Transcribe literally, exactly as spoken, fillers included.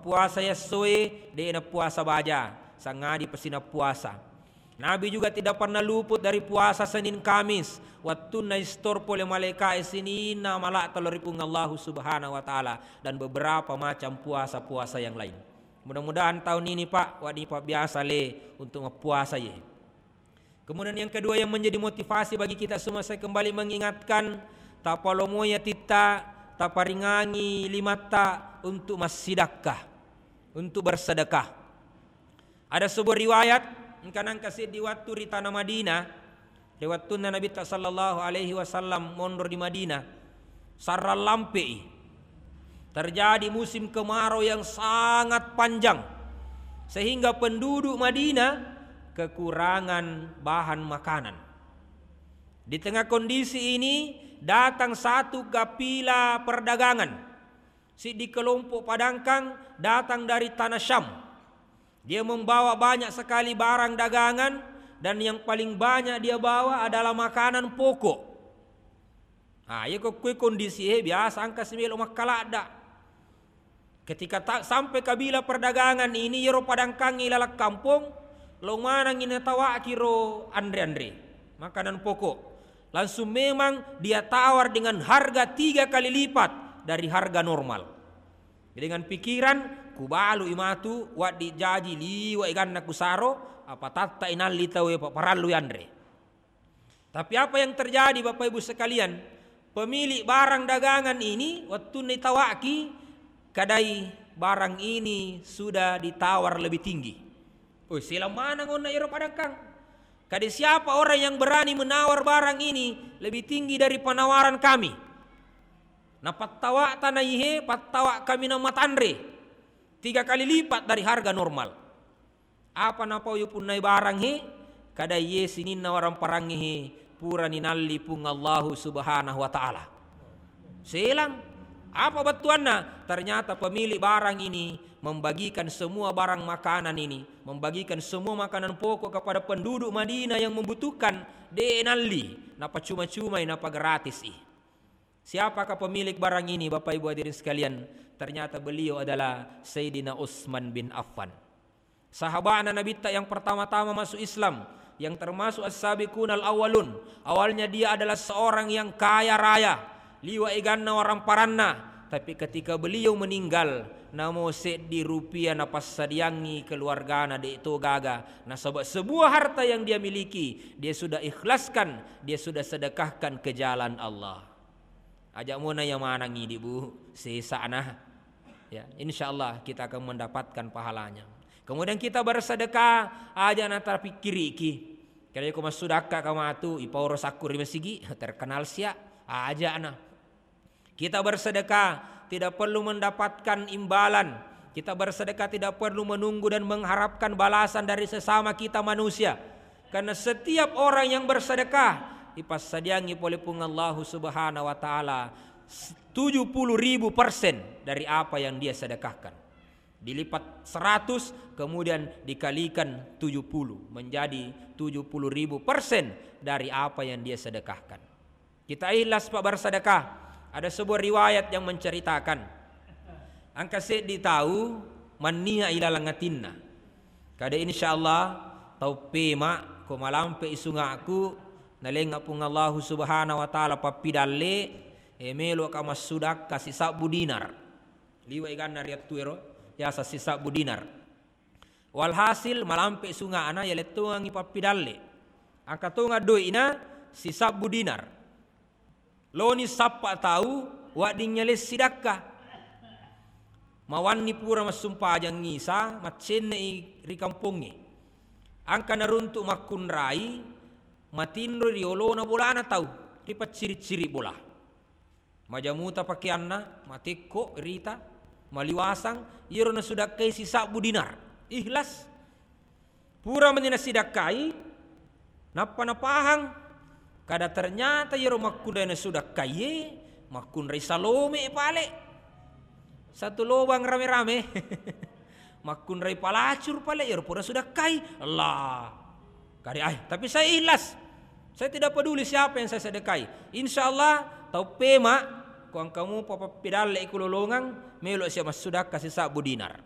puasa yessoe, de' na puasa baja, sangadi pasi na puasa. Nabi juga tidak pernah luput dari puasa Senin Kamis. Wettunna istor pole malaika'e sininna mala'ta lao ri Puang Allahu Subhanahu wa Ta'ala, dan beberapa macam puasa-puasa yang lain. Mudah-mudahan tahun ini, Pak, wedding pabbiasa le untuk mappuasa ye. Kemudian yang kedua yang menjadi motivasi bagi kita semua, saya kembali mengingatkan, tapalomoi atitta, taparingangi limatta untuk massidakka, untuk bersedekah. Ada sebuah riwayat, engka nangka seddi wattu ri tana Madinah, ri wettunna Nabitta sallallahu alaihi wasallam monro di Madinah, sarrang lampe'i. Terjadi musim kemarau yang sangat panjang, sehingga penduduk Madinah kekurangan bahan makanan. Di tengah kondisi ini, datang satu kafilah perdagangan. Siddi kelompok padangkang datang dari tanah Syam. Dia membawa banyak sekali barang dagangan, dan yang paling banyak dia bawa adalah makanan pokok. Ah, iya ko kue kondisi e biasa engka si melo makkaladda. Ketika ta-, sampai kabilah perdagangan ini, iyaro padangkangnge ilaleng kampong, lo manengngi natawaki ro anre-anre, makanan pokok. Langsung memang dia tawar dengan harga tiga kali lipat dari harga normal. Dengan pikiran, "Kubalui matu, waddi jaji liwa eganna kusaro, apa tatta inalli tau e, pa-, parallu anre." Tapi apa yang terjadi, Bapak Ibu sekalian? Pemilik barang dagangan ini, wettunna itawaki, kadai barang ini sudah ditawar lebih tinggi. Oh, selang maneng onna ero padangkang. Kadai siapa orang yang berani menawar barang ini lebih tinggi dari penawaran kami? Napattawa tanaihe, pattawa kami na matanre. Tiga kali lipat dari harga normal. Apa napau yupunnai barang he? Kada iye sininna waramparangnge he pura ninalli Puang Allahu Subhanahu wa Ta'ala. Selang. Apa bettuanna? Ternyata pemilik barang ini membagikan semua barang makanan ini, membagikan semua makanan pokok kepada penduduk Madinah yang membutuhkan, de nalli, napa cuma-cumai, napa gratis i. Siapakah pemilik barang ini, Bapak Ibu hadirin sekalian? Ternyata beliau adalah Sayyidina Utsman bin Affan. Sahabana Nabitta yang pertama-tama masuk Islam, yang termasuk as-sabiqunal awwalun. Awalnya dia adalah seorang yang kaya raya, liwa eganna waramparanna. Tapi ketika beliau meninggal, namo seddi rupiah napassadiangngi keluargana, de to gaga. Nasaba sebuah harta yang dia miliki, dia sudah ikhlaskan, dia sudah sedekahkan ke jalan Allah. Aja mona iya maneng idi, Bu, sesana. Ya, insya Allah kita akan mendapatkan pahalanya. Kemudian kita bersedekah, aja na tapikkiriki. Kira ko massudakka ka matu, ipaoro sakku ri masigi, terkenal sia, aja na. Kita bersedekah tidak perlu mendapatkan imbalan. Kita bersedekah tidak perlu menunggu dan mengharapkan balasan dari sesama kita manusia. Karena setiap orang yang bersedekah, ipassadiangngi pole Puang Allahu Subhanahu wa Ta'ala s-, tujuh puluh ribu persen dari apa yang dia sedekahkan. Dilipat seratus, kemudian dikalikan tujuh puluh, menjadi tujuh puluh ribu persen dari apa yang dia sedekahkan. Kita ikhlas, Pak, bersedekah. Ada sebuah riwayat yang menceritakan, engka seddi tau mannia ilaleng atinna. Kada, insya Allah, tau pema ko malampe i sungaku, nalengnga Puang Allahu Subhanahu wa Ta'ala pappidalle, e, meloka massudakka sisabbu dinar. Liwa eganna riattu ero, yasa sisabbu dinar. Walhasil, malampe sunga'na, yaleng tongangngi pappidalle. Engka tongang doi'na sisabbu dinar. Loni sappa tau, wadding yaleng sidakka. Mawanni pura massumpajang isa, maccenne'i ri kampongnge. Engka naruntuk makkunrai, matinro ri olona bolana tau, ri pacciri-ciri bola. Majamuta pakeanna, matekko rita, maliwasang, iyaro nasudakkai sisabbu dinar. Ikhlas. Pura mani nasidakkai, nappa napahang, kada ternyata iyaro makkunrai nasudakkaie, makkunrai salome pale. Satu lobang rame-rame. Makkunrai palacur pale, iyaro pura sudakkai. Allah. Kade, ai, tapi saya ikhlas. Saya tidak peduli siapa yang saya sedekahi. Insya Allah, tau pema, ko engka mupa pappidalle ku lolongang, melo sia massudakka sisabbu dinar.